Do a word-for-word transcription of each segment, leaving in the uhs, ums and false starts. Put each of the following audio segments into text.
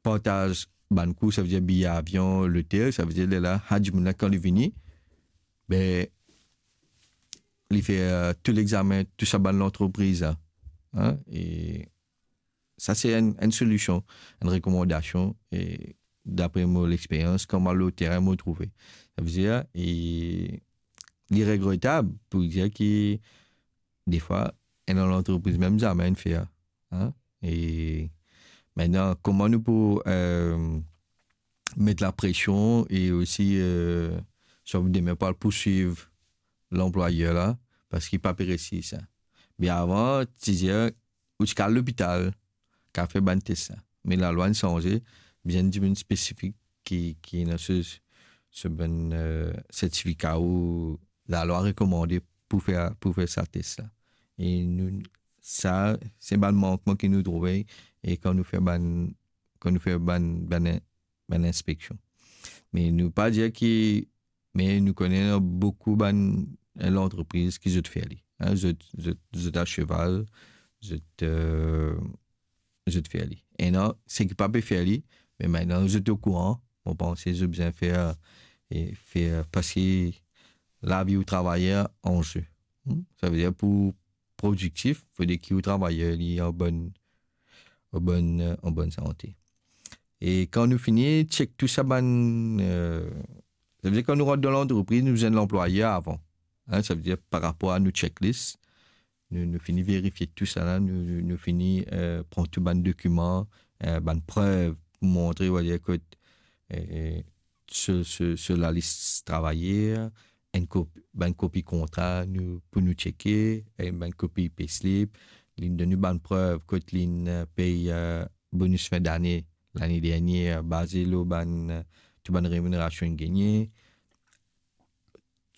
partaz bann kou, savedir biye avion, lotel, savedir lerla, sa dimoun la, kan li vini, be, li fer, euh, tou lexamen, tou sa bann lantrepriz la. Hein? E sa, se enn, enn solision, enn rekomandasion, e dapre mo lexperyans, kan mo al lor terin, mo trouve. Savedir, e li regretab pou dir ki, defwa, enn lantrepriz mem zame inn fer. Hein? E mintnan, kouma nou pou, euh, met lapresion e osi, euh, swa demin pou al pouswiv lanplwayer la, parski pa pe reisi sa. Me avan, ti dir, ou ti kal lopital, kal fer bann tes la. Me lalwa inn sanze, bizin dimoun spesifik ki, ki ena so, so bann, euh, sertifika ou lalwa rekomande pou fer, pou fer sa tes la. E nou, sa, se bann mankman ki nou trouve, e kan nou fer bann, kan nou fer bann, bann, bann inspeksion. Me nou pa dir ki, me nou kone boukou bann, eh, lantrepriz ki zot fer li. Hein, zot, zot, zot a seval, zot, euh, zot fer li. Ena seki pa pe fer li, me mintnan zot okouran, mo panse zot bizin fer, e fer, parski lavi ou travayer an ze. Hmm? Savedir pou prodiktif, fode ki ou travayer li an bonn, an bonn, an bonn sante. E kan nou fini chek tou sa bann, euh, savedir kan nou rant dan lantrepriz, nou bizin lanplwayer avan. Hein, savedir par rapor a nou checklist, nou, nou fini verifie tou sa la, nou, nou, nou fini, euh, pran tou bann dokiman, euh, bann prev pou montre, on va dire, kot, euh, so, so, so lalis travayer, enn kop-, bann kopi kontra nou, pou nou cheke, e bann kopi payslip, li donn nou bann prev kot li, euh, pey, euh, bonis fin dane, lane dernie, baze lor bann, euh, tou bann reminerasion inn gagne,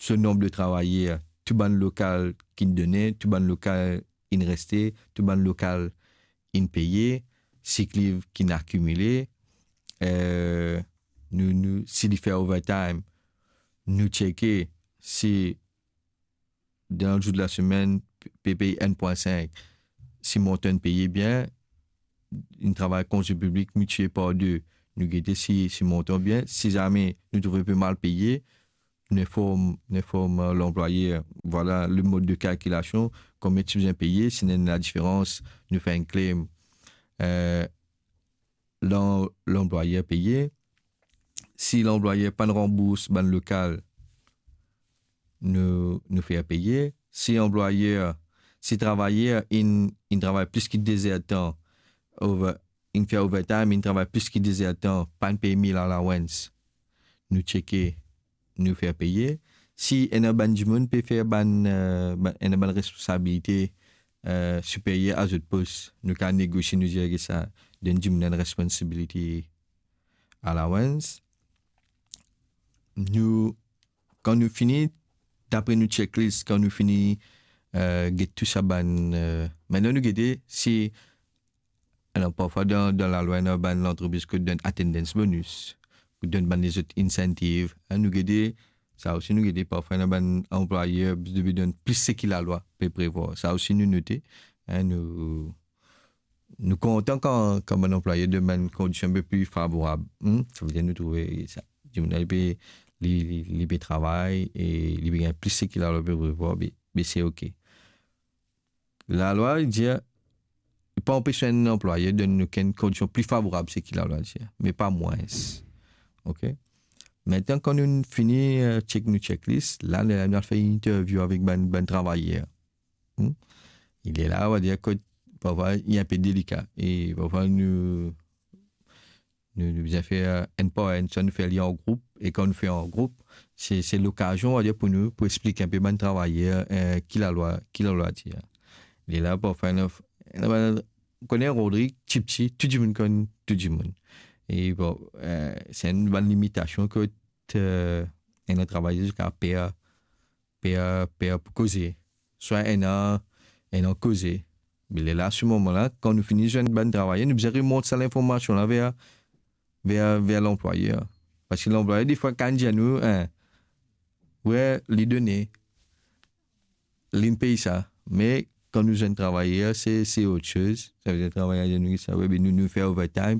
so nonb de travayer, tou bann lokal ki inn done, tou bann lokal inn reste, tou bann lokal inn peye, sikliv ki inn akimile, euh, nou, nou, si li fer overtime, nou cheke si dan zour de lasemenn pe pey enn pwin sink, si montan inn peye bien, inn travay konze piblik, miltipliye par de, nou gete si, si montan bien, si zame nou trouve pe mal peye, nou inform, nou inform, euh, lanplwayer, vwala le mod de kalkilasion, konbien ti bizin peye, si ena enn ladiferans, nou fer enn claim, euh, lan-, lanplwayer peye. Si lanplwayer pa'nn ranbours bann lokal, nou, nou fer peye. Si anplwayer, si travayer inn, inn travay plis ki de zertan, over, inn fer overtime, inn travay plis ki de zertan, pa'nn pey meal allowance, nou cheke, nou fer peye. Si ena bann dimoun pe fer bann, euh, bann, ena bann responsabilite, euh, siperyer a zot pos, nou kapav negosie, nou dir ki sa, donn dimoun enn responsibility allowance. Nou, kan nou fini, dapre nou checklist, kan nou fini, euh, get tou sa bann, euh, mintnan nou gete si, alor, parfwa dan, dan lalwa, ena bann lantrepriz ki donn attendance bonus, ki donn bann lezot incentive, hein, nou gete, sa osi nou gete, parfwa ena bann anplwayer, depi donn plis seki lalwa pe prevwar. Sa osi nou note, hein, nou, nou kontan kan, kan bann anplwayer donn bann kondision inpe pli favorab, hmm? Savedir nou trouve sa. Dimoun la, li pe, li, li, li pe travay e li pe gagn plis seki lalwa pe prevwar, be, be se ok. Lalwa dir, li pa anpes enn anplwayer donn okenn kondision pli favorab seki lalwa dir, me pa mwins. Ok? Mintnan, kan nou fini, euh, chek nou checklist, la, nou, nou al fer interview avek bann, bann travayer. Hmm? Lerla, on va dire, kot parfwa, li inpe delika. E parfwa, nou, nou, nou bizin fer, euh, enn par enn, swa nou fer li an group, e kan nou fer an group, se, se lokazion, on va dire, pou nou, pou explik inpe bann travayer, euh, ki lalwa, ki lalwa dir. Lerla, parfwa, ena, ena bann, ou kone Rodrig, tipti, tou dimoun konn tou dimoun. E bon, euh, se enn bann limitasion kot, euh, ena travayer ziska per, per, per pou koze. Swa ena, ena koze. Me lerla, se moman la, kan nou fini zwenn bann travayer, nou bizin remont sa linformasion la ver, ver, ver lanplwayer. Parski lanplwayer, defwa, kapav dir nou, hein, wi, li done, li pey sa. Me kan nou zwenn travayer, se, se ot soz. Savedir travayer dir nou sa, wi, be nou, nou fer overtime,